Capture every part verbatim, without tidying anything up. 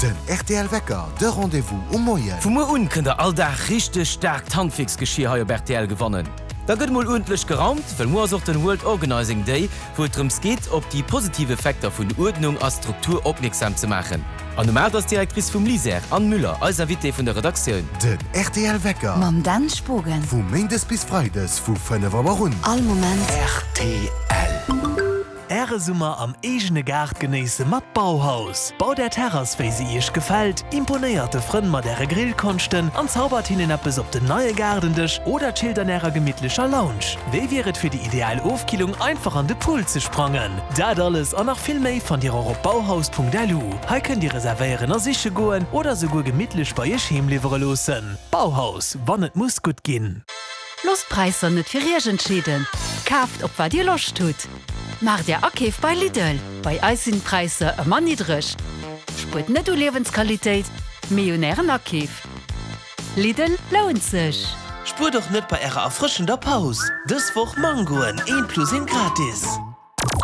Den rtl Wecker, de Rendez-vous um Moien. Vu muer un kënnt der all Dag richteg staarkt Handwierksgeschier hei op rtl gewannen. Da gëtt mol uerdentlech geraumt, well muer ass och den World Organizing Day, wou et drëms geet, op déi positiv Effekter vun Uerdnung a Struktur opmierksam ze maachen. An um aacht ass d'Directrice vum LISER, Anne Müller, eis Invitée vun der Redaktioun. Den rtl Wecker. Mam Dan Spogen. Vu Méindes bis Freides vu fënnef Auer un. All Moment. Rtl. Äre Summer am eegene Gaart genéisse mat Bauhaus. Baut är Terrass wéi se iech gefält, imponéiert de Frënn mat äre Grillkonschten an zaubert hinnen eppes op den neie Gaardendësch oder chillt an ärer gemittlecher Lounge. Wéi wier et fir déi ideal Ofkillung einfach an de Pool ze sprangen? Dat alles an nach vill méi fannt dir och op bauhaus.lu. Hei kënnt dir reservéieren a siche goen oder souguer gemittlech bei iech heem liwwere loossen. Bauhaus, wann et muss gutt ginn. Loosst d'Präisser net fir iech entscheeden. Kaaft op wat dir Loscht hutt. Maacht är Akeef bei Lidl. Bei eis sinn d'Präisser ëmmer niddreg. Spuert net u Liewensqualitéit, mee un ären Akeef. Lidl lount sech! Spuert och net bei ärer erfrëschender Paus. Dës Woch Mangoen, een plus een gratis.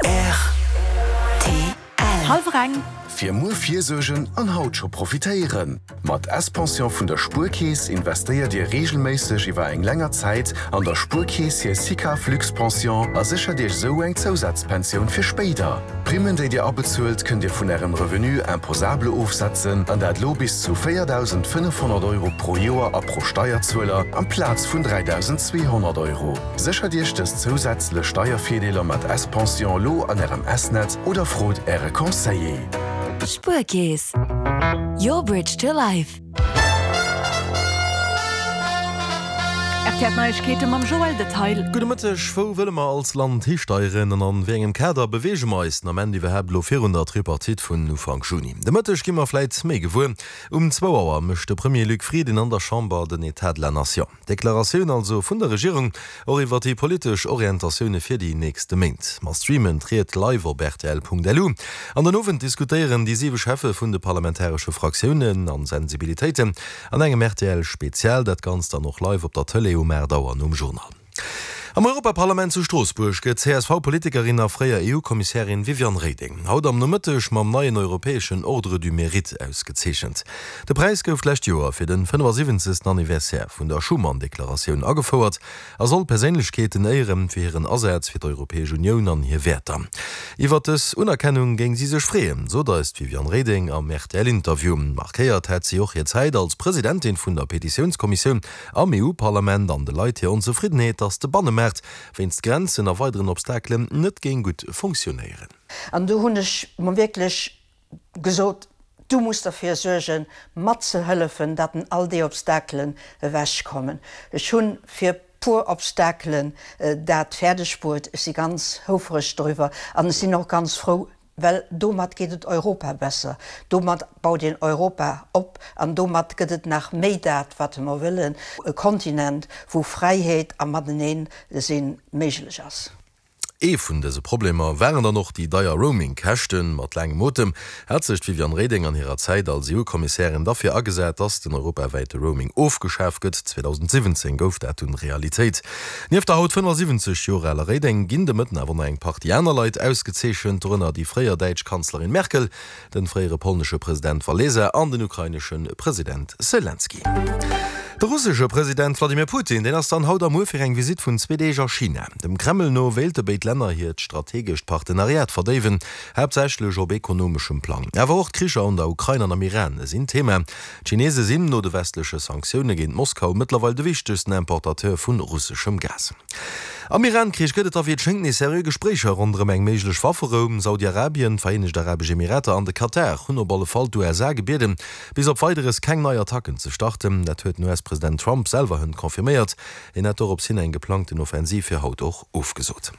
Rtl. Hallwer eng. Fir muer virsuergen an haut scho profitéieren! Mat S-Pension vun der Spuerkeess investéiert Dir reegelméisseg iwwer eng länger Zäit an der Spuerkeess hir SICAV Luxpension a séchert Iech esou eng Zousazpensioun fir spéider. D'Primmen, déi Dir abezuelt, kënnt Dir vun Ärem Revenu imposable ofsetzen, an dat lo bis zu véierdausendfënnefhonnert Euro pro Joer a pro Steierzueler, amplaz vun dräidausendzweehonnert Euro. Séchert Iech dës zousätzlech Steiervirdeeler mat S-Pension lo an Ärem S-Netz oder frot Äre Conseiller. Spuerkeess, your bridge to life. R T L Neiegkeete mam Joël Detail. Gudde Mëtteg, Wou wëlle mer als Land histeieren an an wéi engem Kader beweege mer eis den Ament iwwerhaapt elo virun der Tripartite vun Ufank Juni? De Mëtteg gi mer vläit méi gewuer. Um zwou Auer mécht de Premier Luc Frieden an der Chamber den État de la Nation. D'Deklaratioun also vun der Regierung och iwwer déi politesch Orientatioune fir déi nächste Méint. Mer streamen d'Ried live op rtl.lu. An den Owend diskutéieren déi siwe Cheffe vun de parlamentaresche Fraktiounen an Sensibilitéiten an engem R T L Spezial. Dat Ganzt dann och live op der Tëlee um aacht Auer nom Journal. Am Europaparlament zu Stroossbuerg gëtt d'C S V-Politikerin a fréier E U-Kommissärin Viviane Reding haut am Nomëtteg mam neien europäeschen Ordre du Mérite ausgezeechent. De Präis gouf d'lescht Joer fir de fënnefasiwwenzegsten Anniversaire vun der Schuman-Deklaratioun agefouert a soll Perséinlechkeeten éieren fir hiren Asaz fir d'Europäesch Unioun an hir Wäerter. Iwwer dës Unerkennung géing si sech freeën, sot eis d'Viviane Reding am R T L-Interview. Markéiert hätt si och hir Zäit als Presidentin vun der Petitiounskommissioun am E U-Parlament an de Leit hir Onzefriddenheet, datt de Bannemaart wéinst Grenzen a weideren Obstakelen net géing gutt funktionéieren. An do hunn ech mer wierklech gesot, du muss derfir suergen, matzehëllefen, datt all déi Obstakelen ewechkommen. Ech hunn fir puer Obstakelen dat fäerdeg bruet. Ech si ganz houfreg doriwwer an ech sinn och ganz frou, well domat geet et Europa besser, domat baut een Europa op an domat gëtt et nach méi dat, wat mer wëllen, e Kontinent, wou Fräiheet a Matenee sinn méiglech ass. Ee vun dëse Problemer waren dann och déi deier Roaming-Käschten. Mat laangem Otem hat sech d'Viviane Reding an hirer Zäit als E U-Kommissärin derfir agesat, dass den europawäite Roaming ofgeschaf gëtt. zweedausendsiwwenzéng gouf dat dunn Realitéit. Nieft der haut fënnefasiwwenzeg Joer aler Reding ginn de Mëtten awer nach eng Partie aner Leit ausgezeechent, dorënner déi fréier däitsch Kanzlerin Merkel, de fréiere polnesche President Walesa an den ukrainesche President Selenskyj. De russesche President Wladimir Putin, deen ass dann haut a muer fir eng Visitt vun zwee Deeg a China. Dem Kreml no wéilte béid Länner hiert strategescht Partenariat verdéiwen, haaptsächlech op ekonomeschem Plang. Awer och d'Kricher an der Ukrain an am Iran sinn Thema. D'Chinese sinn no de westleche Sanktioune géint Moskau mëttlerweil de wichtegsten Importateur vu russeschem Gas. Am Iran-Krich gëtt et da wéi et schéngt nees seriö Gespréicher ronderëm eng méiglech Wafferou. Saudi-Arabien, d'Vereenegt Arabesch Emirater an de Katar hunn op alle Fall d'U S A gebieden, bis op Weideres keng nei Attacken ze starten. Dat huet den U S-President Trump selwer hënt confirméiert. Hien hat dorops hin eng geplangten Offensiv fir haut och ofgesot.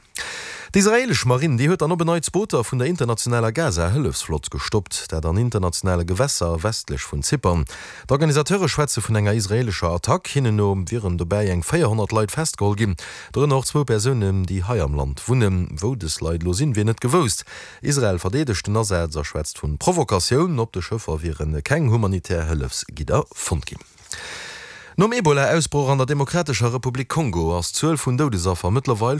D'israeelesch Marinn, déi huet dann op en Neits Booter vun der internationaler Gaza-Hëllefsflott gestoppt, dat an internationale Gewässer westlech vun Zypern. D'Organisateure schwätze vun enger israeelescher Attack. Hinnen no wieren dobäi eng véierhonnert Leit festgeholl ginn, dorënner och zwou Persounen, déi hei am Land wunnen. Wou dës Leit elo sinn, wier net gewousst. Israel verdeedegt den Asaz a schwätzt vu Provokatioun. Op de Schëffer wiere keng humanitär Hëllefsgidder fonnt ginn. Nom Ebola-Ausbroch an der Demokratescher Republik Kongo ass d'Zuel vun Doudesaffer mëttlerweil